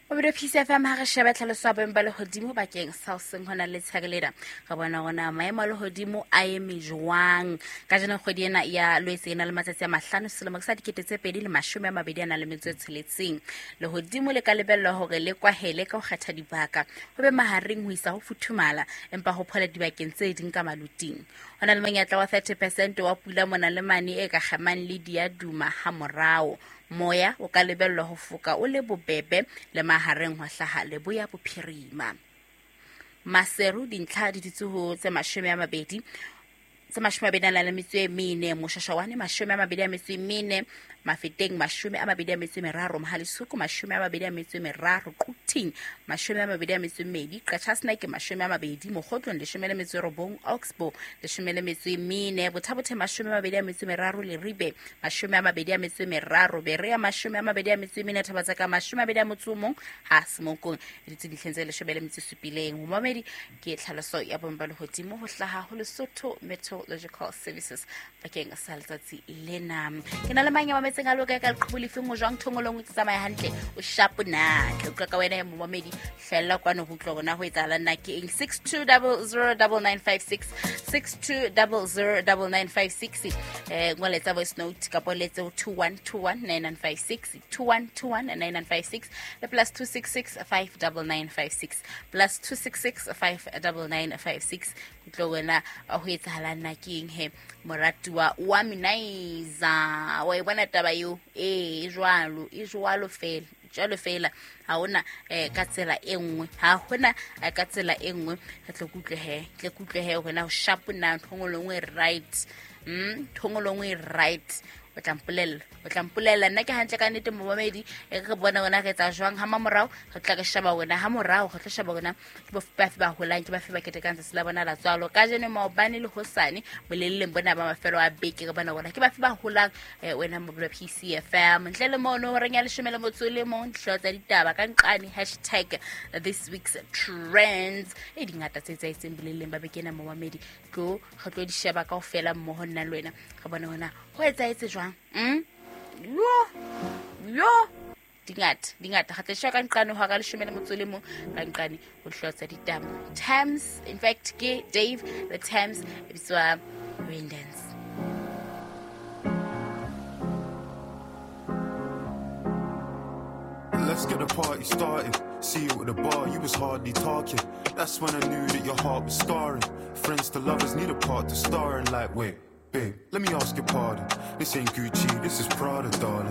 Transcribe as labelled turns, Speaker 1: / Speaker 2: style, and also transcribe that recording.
Speaker 1: Mabedi Peace FM ha re sheba tlhaloso ya boemo ba lehodimo bakeng sa hoseng hona le letshehare lena, re bona gona maemo a lehodimo a eme jwang. Ka jeno kgwedi ena ya Lwetse e na le matsatsi a 5 selemo ke sa 2026. Lehodimo le ka lebellwa hore le kwahele ka ho kgetha dibaka, ho be mahareng ho isa ho futhumala, empa ho phole dibakeng tse ding ka maluting. Ho na le monyetla wa 30% wa pula mona le mane e ka kgemang le diaduma ha morao. Moya o ka lebellwa ho foka o le bobebe le mahareng ho hlaha leboya bophirima. Maseru dintlha di dutse ho tse 20, tse 24, Moshashawane 24, Mafeteng 23, Mohalisuku 23, Quthing 22, Qachaseneke 20, Mokgotlong 19, Oxbow 14, Bothabothe 23, Leribe 23, Berea 24, Thabatsaka 21, ha Semokong e dutse ditlheng tse 17. Momamedi ke tlhaloso ya boemo ba lehodimo ho hlaha ho Lesotho Meteorological Services bakeng sa letsatsi lena. Ke na le mang ya mametseng a loka ka leqhubu lefeng o jwang thongolong o tsamaya hantle o shapo na ke utlwa ka wena ya momamedi hlella kwano ho utlwa bona ho etsahalang na ke eng. 62009956, 62009956, ngoletsa voice note kapo letse ho 21219956, 21219956 le plus 266 59956, plus 266 59956. Utlwe wena ho etsahalang na ke eng he moratuwa wa Minaiza, wa e bona taba eo? Ee, e jwalo, e jwalo fela, jwalo fela. Ha hona ka tsela e nngwe, ha hona ka tsela e nngwe. Re tle kutlwe he, tle kutlwe he hona ho sharp na ntho nngwe le nngwe right. Ntho nngwe le nngwe right. O tla mpolella, o tla mpolella nna ke hantle ka nnete momamedi. E re bone rona re etsa jwang ha mamorao, re tla re sheba rona ha morao, re tlo sheba rona ke bo bafe ba holang, ke bafe ba ketekang tsatsi la bona la tswalo kajeno, maobane le hosane, boleleng bona ba mafelo a beke, re bona rona ke bafe ba holang. Wena mobile PCFM ntle le mono horeng ya 11, dihlooho tsa ditaba ka nqane hashtag this week's trends e dingata tse etsahetseng boleleng ba beke ena momamedi. Tlo re tlo di sheba kaofela mmoho nna le wena, re bone hona ho etsahetse jwang. Yo yo dingata dingata re tla sheba ka nqane ho hora 11 ka nqane ho dihlooho tsa ditaba. Times, in fact ke Dave the Times e bitswa Rain Dance.
Speaker 2: Let's get the party started. See you at the bar, you was hardly talking. That's when I knew that your heart was scarring. Friends to lovers need a part to star in. Like, wait, babe, let me ask your pardon. This ain't Gucci, this is Prada, darling.